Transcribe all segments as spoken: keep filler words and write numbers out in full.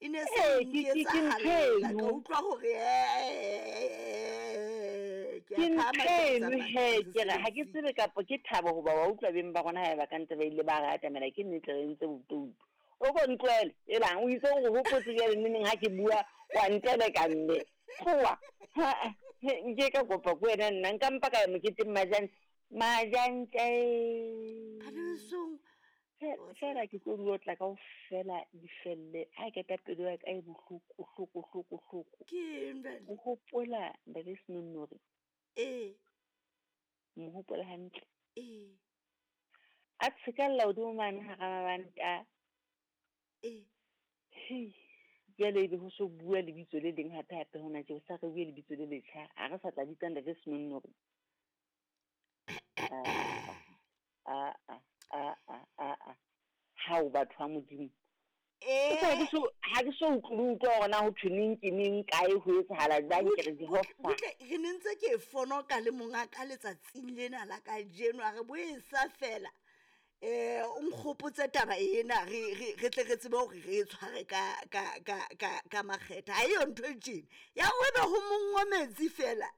E ne se Ee, ke- ke- ke ntho nketsahalla eno. ka utlwa hore eh, ke Ke a ntho phahama ke eno tsamaya he ke re ha ke mosebetsing. tsebe kapa ke thabo hoba wa utlwa beng ba rona haeba ka ntse ba ile ba re atamela ke nnete re entse botoutu. O ko ntlohele elang o itse o hopotse jwale neneng ha ke bua wa nteleka mme. Tloha. Ha, he, nke ka kopa ko wena nna nka mpa ka ya moketeng majang majantja Bana besong, fela ke tlo di otla kaofela di felle. Ha ke pelo ya ka e bohloko hloko hloko hloko. Ke eng jwale? O hopola ntate Senonnori? Ee. Mo hopola hantle. Ee. A tshekalla hodimo mane hara mabanta. Ee. Hei, jwale ebe ho so bua lebitso le leng hape hape hona tje, ho sa re bue lebitso le letjha. Ha re sa tla bitsa ntate Senonnori. Ah, ah, ah, ah, ah, ah. Hao batho ba Modimo. Ee. Ha ke so ha ke so utlwe utlwa hore na ho thwe neng ke neng kae ho etsahala jwang ke re Jehova. Butle, re ne ntse ke e fonoka le monga ka letsatsing lena la kajeno, a re bo e sa fela. Eh, o nkgopotse taba ena re re re tle re tsebe hore re e tshware ka ka ka ka ka makgetha. Ha eyo ntho e tjena. Ya hore ebe ho monngwa metsi fela.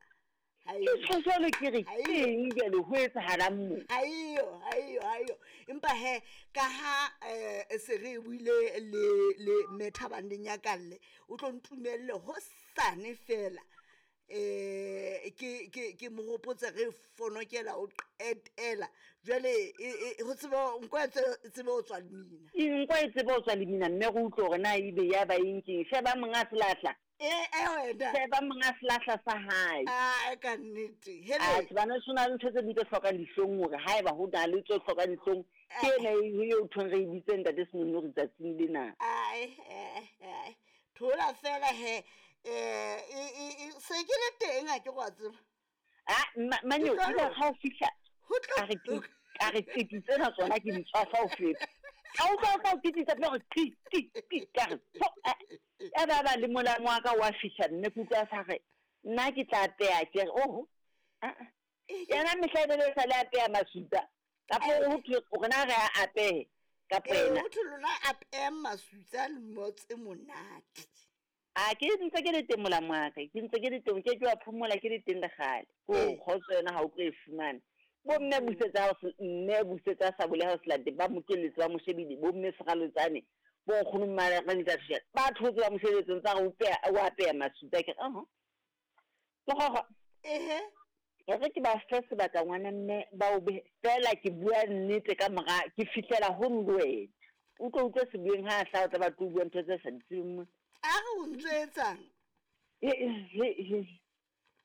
Ha Ke eyo. tjho jwalo ke re Ha eyo. ke eng jwale ho etsahalang mo? Ha eyo, ha eyo, ha eyo. Empa he, ka ha eh se re buile le le mme Thabang le Nyakalle, o tlo ntumelle hosane fela. Eh ke ke ke mo hopotse re fonokela o qetela. Jwale e e ho tsebe nko e tsebe ho tswa lemina. Nko e tsebe ho tswa lemina mme re utlwe hore na ebe ya ba eng keng. Sheba monga selahla. Eh, eh wena. Sheba monga selahla sa hae. Ah, ka nnete. Hele. Atjhe, bana ho na le ntho tse ding tse hlokang dihlong hore haeba ho na le tse hlokang dihlong, ke ena e eo thweng re e bitse ntate Senonnori tsatsing lena. Ai, ai, ai. Thola fela he. Eh, e e e se ke le teng ha ke go a tseba. Ah, ma- Manyo, Ke tlo ile ha o fihla, Ho tlo a re ke a re qiti tsena tsona ke di tswafa ho feta. Ka utlwa o tla o kititsa pele hore qi, qi, qi, ka re, pho, eh, ya ba ba le molamo wa ka wa fihla mme ke utlwa sa re, nna ke tla apeha ke re, oho, ah, ah. Yena mehla e be le sa le apeha masutsa. Kapo ho thwe rona re a apehe, kapo Eh, yena. ho thwe lona apehang masutsa le motse monate. A ke ntse ke le teng molamo wa ka, ke ntse ke le teng, ke ke wa phomola ke le teng le kgale. Ko Ee. kgotso yona ha o tlo e fumana. Bo mme busetsa ha o se, mme busetsa sa bole ha o se late, ba mo tlohelletse ba mo shebile, bo mme Seralotsane, bo nkgono Mmareng ba thotse ba mo shebetse ntse a re o peha, o apeha masutsa ke re, aha. Ke gogo. Ehe. E re ke ba fe sebaka ngwana mme ba o behe, fela ke bua nnete ka mora, ke fihlela ho le wena. O tlo utlwe sebueng ha a hlaha, o tla ba tlo bua ntho tse sa di tsebeng mona. A re o ntso etsang? He, he, he.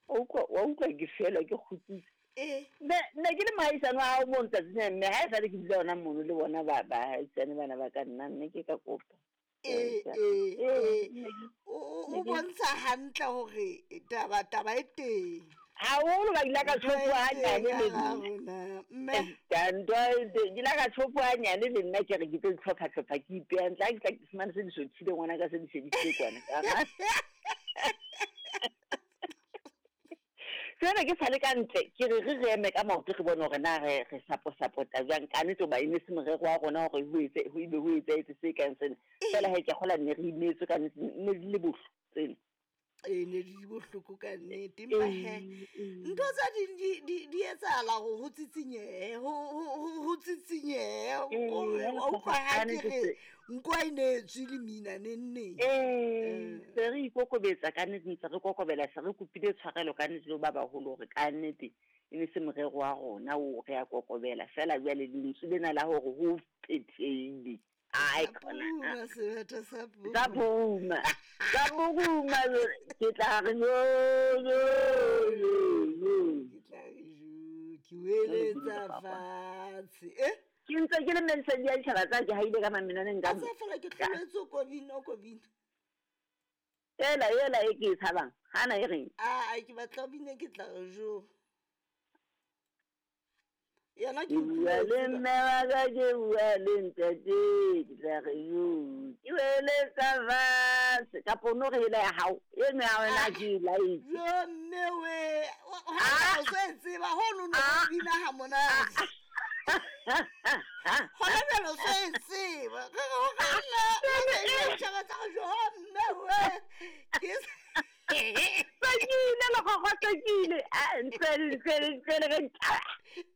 Wa utlwa, wa utlwa ke fela ke kgutsitse. Eh. Ne, ne ke le mohaisane wa hao mono tsatsing lena, mme ha e sale ke dula hona mono le bona ba, bahaisane bana ba ka nna, mme ke ka kopa. Eh, Ee, eh, eh. ne ke- O, o, ne o ke- bontsha hantle hore taba, taba e teng. Haholo ba ile ka Ntho e tshopuwa hanyane teng le ka nna. rona, mme. Eh, ntho e teng, ke ile ka tshopuwa hanyane le nna ke re ke tlo itlhopha-hlopha ke ipeha ntle, ha ke tla ke fumane se di sothile ngwana ka se di shebisitse kwana. Jwale ke sale ka ntle, ke re re re eme ka maoto re bone hore na re, re sapo-sapota jwang. Ka nnete hoba e ne se morero wa rona hore ho etse, ho ebe ho etsahetse se kang sena. Fela he ke a kgolwa ne re imetswe ka nnete, ne di le bohloko tsena. Ee, ne di bohloko ka nnete. Empa he, Ee, ntho tse ding di, di, di etsahala hore ho tsitsinyehe, ho, ho, ho, ho tsitsinyehe. Ee, Hore jwale wa utlwa ha ka ke nnete re, se- nko ha e ne e tswe lemina neng neng. Ee, se re ikokobetsa ka nnete, ntse re kokobela, se re kopile tshwarelo ka nnete le ho ba baholo hore ka nnete e ne se morero wa rona o re a kokobela. Feela jwale lentswe lena la hore ho phethehile. Ai, Sa khona. puma, sebete sa puma. Sa puma. Sa puma, ke tla re yo, yo, yo, yo. Ke tla re jo, ke weletsa fatshe. Eh? Ke ntse ke le mmensedi ya ditjhaba tsa ke haile ka mamenaneng ka A sa fela ke tloletse o kobina, o kobina. Ela, ela e ke e tshabang. Hana e reng? Ah, ke batla o bine, ke tla re jo. Yena ke Ke bua utlwile le tseba. mme wa ka, ke bua le ntate, ke tla re jo. Ke weletsa fatshe. Kapa o no re ela ya hao. Eno ya wena ke e laetse. Jo, mme we. Wa-, ha o so e tseba, hono no Ah. bina ha monate. Hona jwale o so e tseba. Re re ho re nna, re re e tjhaba tsa re jo, kgokgosekile. Ah, ntlwele ntlwele ntlwele ge.